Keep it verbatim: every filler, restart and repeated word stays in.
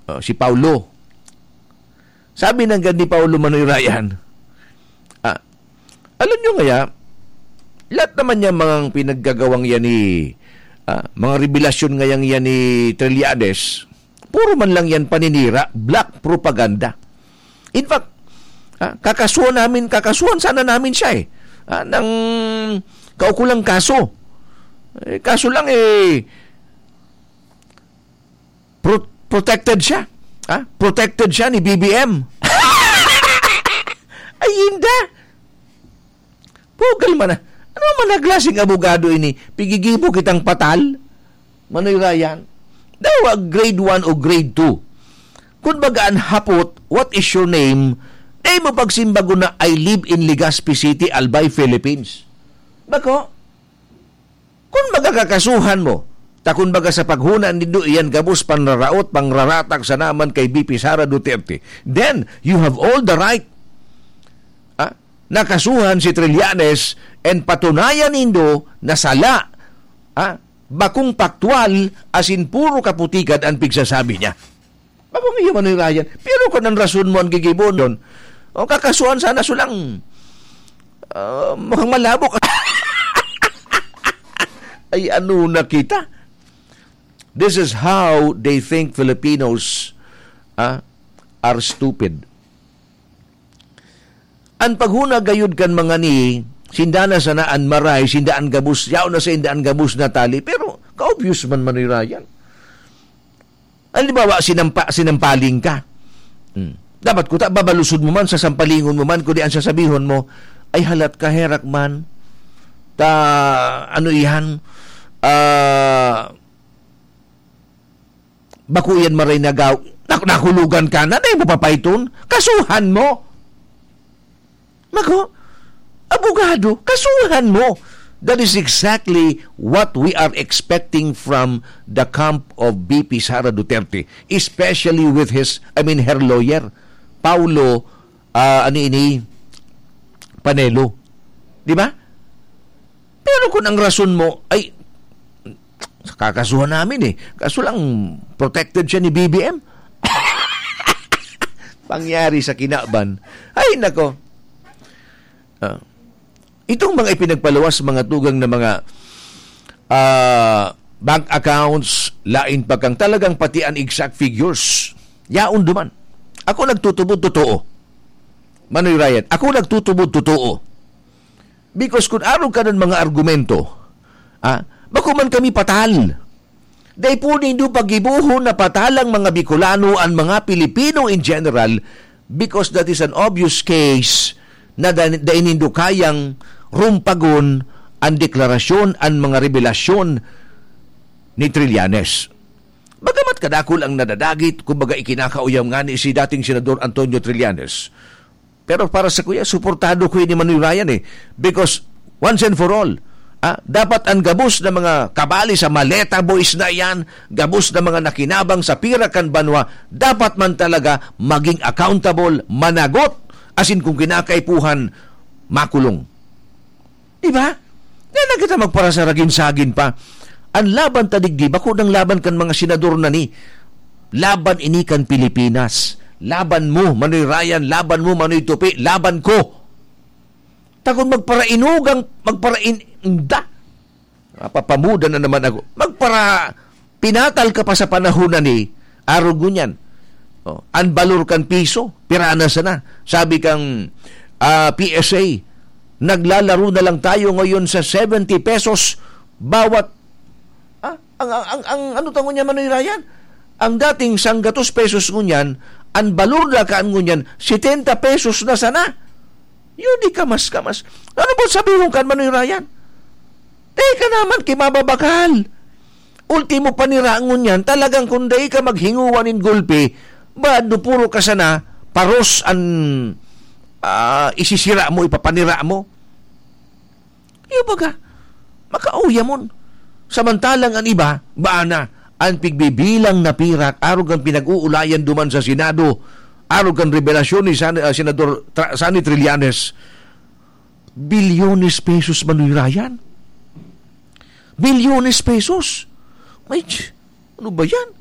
Oh, si Paulo. Sabi nanggad ni Paulo, Manoy Ryan, ah, alam nyo ngaya, lahat naman niya mga pinaggagawang yan ni, ah, mga revelasyon ngayang yan ni Trillanes, puro man lang yan paninira, black propaganda. In fact, ah, kakasuhan namin, kakasuhan sana namin siya eh. Ah, ng kaukulang kaso. Eh, kaso lang eh, pro-, protected siya. Ha? Protected siya ni B B M. Ay, inda. Bugal man na. Ano man na klaseng abogado ini? Pigigibo kitang patal? Manoy Ryan? Dawa grade one o grade two. Kung baga an hapot, "What is your name?" Dai mo pagsimbagon na, "I live in Legazpi City, Albay, Philippines." Bako? Kun baga kakasuhan mo, ta kun baga sa paghona nindo iyan gabos panraraot, pangraratag sana man kay B P Sara Duterte, then you have all the right, ah, na kasuhan si Trillanes and patunayan nindo na sala, ah, bakong paktwal, asin puro kaputikan an pigsasabi niya. Bakong iyo, Manoy Ryan. Pero kun an rason mo an gigibohon, o kakasuhan sana sulang, ah, mukhang malabo ka. Ay, ano na kita? This is how they think Filipinos, ah, are stupid. An paghona gayud kan mga ni, sinda na sana an maray, sinda an gabos, yaon na sa inda an gabos na tali. Pero, ka-obvious man, Manoy Ryan. Halimbawa, sinampa-, sinampaling ka. Hmm. Dapat kuta, babalusod mo man, sasampalingon mo man, kundi ang sasabihon mo, "Ay, halat ka, herak man. Ta, ano iyan? Ah, bako iyan maray nagaw-," Nak-, nahulugan ka na, dai mo papaiton. Kasuhan mo. Mako, abogado, kasuhan mo. That is exactly what we are expecting from the camp of B P Sara Duterte, especially with his, I mean, her lawyer, Paulo, ah, ano ini, Panelo. Di ba? Pero kung ang rason mo ay, kakasuhan namin eh. Kaso lang, protected siya ni B B M. Pangyari sa kinaban. Ay, nako. Ah. Itong mga ipinagpaluwas, mga tugang na mga, ah, bank accounts, lain pa kang talagang pati an exact figures. Yaon duman. Ako nagtutubod totoo. Manoy Ryan, ako nagtutubod totoo. Because kun arog ka ng mga argumento, ah, bako man kami patal. Dai po nindo pagibohon na patalang mga Bicolano an mga Pilipino in general, because that is an obvious case na da-, dai nindo kayang rumpagon an deklarasyon, an mga revelasyon ni Trillanes. Bagamat kadakul ang nadadagit, kumbaga ikinakauyam ngani si dating Senador Antonio Trillanes. Pero para sa kuya, suportado ko ni Manoy Ryan eh. Because, once and for all, ah, dapat ang gabos na mga kabali sa Maleta Boys na iyan, gabos na mga nakinabang sa pira kan banwa, dapat man talaga maging accountable, managot, asin kung kinakaipuhan, makulong. Di ba? Nga na kita magparasaragin-sagin pa. Ang laban ta digdi, bako nang laban kan mga senador na ni. Laban ini kan Pilipinas. Laban mo, Manoy Ryan. Laban mo, Manoy Tupi. Laban ko. Takon magparainugang, magparain-, inda. Mapapamuda na naman ako. Magpara-, pinatal ka pa sa panahon na ni, arog ngunyan. Oh, ang balor kan piso, pira na sana. Sabi kang, ah, P S A, "Naglalaro na lang tayo ngayon sa seventy pesos bawat," ah, ang, ang, ang, ang ano ta ngunyan, Manoy Ryan? Ang dating sanggatos pesos ngunyan, ang balor na kaan ngunyan, setenta pesos na sana. Yun, di kamas-kamas. Ano ba sabi mong kan, Manoy Ryan? Teka naman, kimababakal. Ultimo panira ngunyan, talagang kung dai ka maghinguwa nin gulpi, bado puro ka sana, paros an, ah, isisira mo, ipapanira mo. Iyo baga, makauyamon. Samantalang an iba, baan na, an pigbibilang na pirak, arog ang pinag-uulayan duman sa Senado, arog ang revelasyon ni San-, ah, Senador Tra-, Sonny Trillanes, bilyones pesos, Manoy Ryan. Bilyones pesos. May ch-, ano ba yan?